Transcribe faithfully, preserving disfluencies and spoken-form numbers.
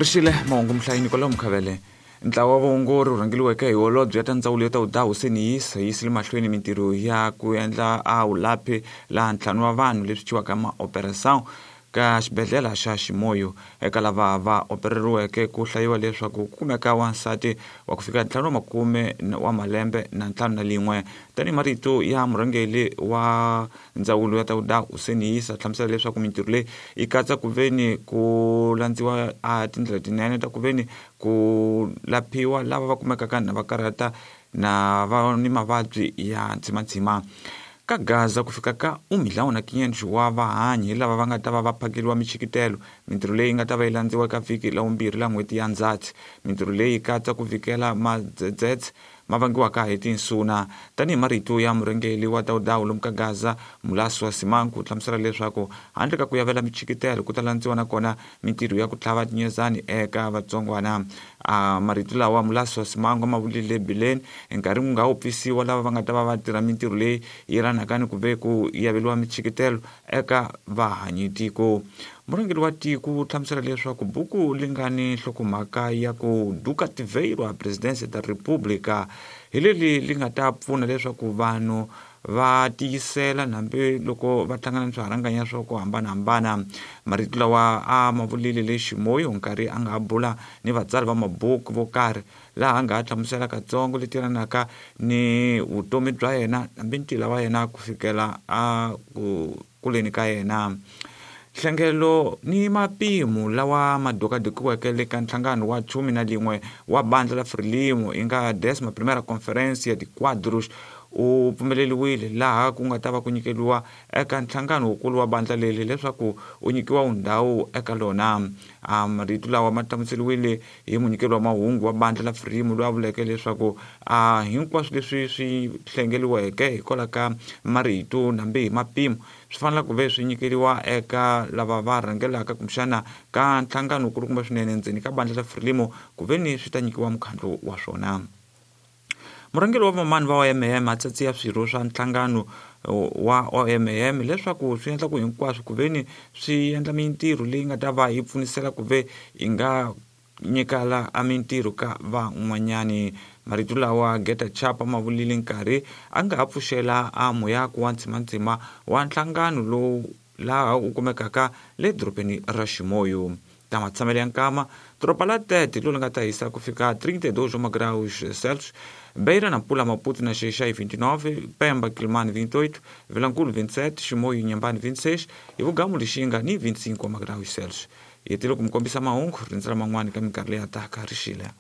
Rixile mahungu muhlayini kwalomu Mkhavele. Ntlawa wa vaongori wu rhangeriweke hi holobye ya ta ndzawulo ya ta vudahu Seniyisa yi yisile mahlweni mintirho ya ku endla a wulaphi laha ntlhanu wa vanhu leswi thyiwaka maoperação ka xibedhlele xa Ximoyo. Eka lava va opereriweke ku hlayiwa leswaku ku kumeka wansati wa ku fika ntlhanu wa makume wa malembe na ntlhanu na lin'we. Tanihi marito ya murhangeri wa ndzawulo ya ta vudahu Seniyisa hlamusela leswaku mintirho leyi yi katsa ku veni ku landziwa a tindlela tinene ta ku veni ku laphiwa lava va kumekaka na va karhata na va ni mavabyi ya ntsimantsima. Ka Gaza ku fika ka um milhão na quinhentos wa vahanyi lava va nga ta va va phakeriwa michikitelo. Mintirho leyi nga ta va yi landziwa eka vhiki la vumbirhi la n'hweti ya Ndzhati. Mintirho leyi yi katsa ku vikela madzedzetse ma vangiwaka hi tinsuna. Tanihi marito ya murhangeri wa ta vudahu lomu ka Gaza Mulaswa Simanku u hlamusela leswaku handle ka ku yavela michikitelo ku ta landziwa nakona mintirho ya ku tlhava tinyezani eka vatsongwana. A marito lawa Mulaswa Simanku ma vulile bileni nkarhi wu nga wu pfisiwa lava va nga ta va va tirha mintirho leyi yelanaka ni ku ve ku yaveriwa michikitelo eka vahanyitiko. Murhangeri wa tiko u hlamusela leswaku buku li nga ni nhlokomhaka ya ku Duka Tiveiro a Presidência da República hi leli li nga ta pfuna leswaku vanhu va tiyisela hambi loko va hlangana ni swiharanganya swa ku hambanahambana. Marito lawa a ma vulile le Ximoyo nkarhi a nga ha bula ni vatsari va mabuku vo karhi laha a nga ha hlamusela katsongo leti yelanaka ni vutomi bya yena hambi ntila wa yena ku fikela a ku kuleni ka yena. Nhlengelo ni mapimo lawa ma dokadokiweke le ka nhlangano wa chumi na lin'we wa bandla la Frelimo yi nga décima primeira Conferência de Quadros u pfumeleriwile laha ku nga ta va ku nyikeriwa eka nhlangano wukulu wa bandla leri leswaku u nyikiwa ndhawu eka lona. A marito lawa ma hlamuseriwile hi munyikeri wa mahungu wa bandla la Frelimo loyi a vuleke leswaku a hinkwaswo leswi swi hlengeriweke hikwalaho ka marito nambi hi mapimo swi fanele ku ve swi nyikeriwa eka lava va rhangelaka kumbexana ka nhlangano wukulukumba swinene ndzeni ka bandla la Frelimo ku ve ni swi ta nyikiwa mukhandlu wa swona. Murhangeri wa vamani va O M M a tsatsiya swirho swa nhlangano wa O M M leswaku swi endla ku hinkwaswo ku ve ni swi endla mintirho leyi nga ta va yi pfunisela ku ve yi nga nyikala a mintirho ka van'wanyani. Marito lawa Geta Chapa ma vulile nkarhi a nga ha pfuxela a muyako wa ntsimantsima wa nhlangano lowu laha wu kumekaka le dorobeni ra Ximoyo. Ta matshamelo ya nkama doroba la Tete lolu nga ta hisa ku fika trinta e dois graus Celsius, Beira, Nampula, Maputo na Xai vinte e nove, Pemba, Quelimane vinte e oito, Vilankulo vinte e sete, Chimoio e Inhambane vinte e seis e Vugamu Lixinga ni vinte e cinco graus Celsius. Hi tile ku mi kombisa mahungu rindzela man'wani ka minkarhi leyi taka rixile.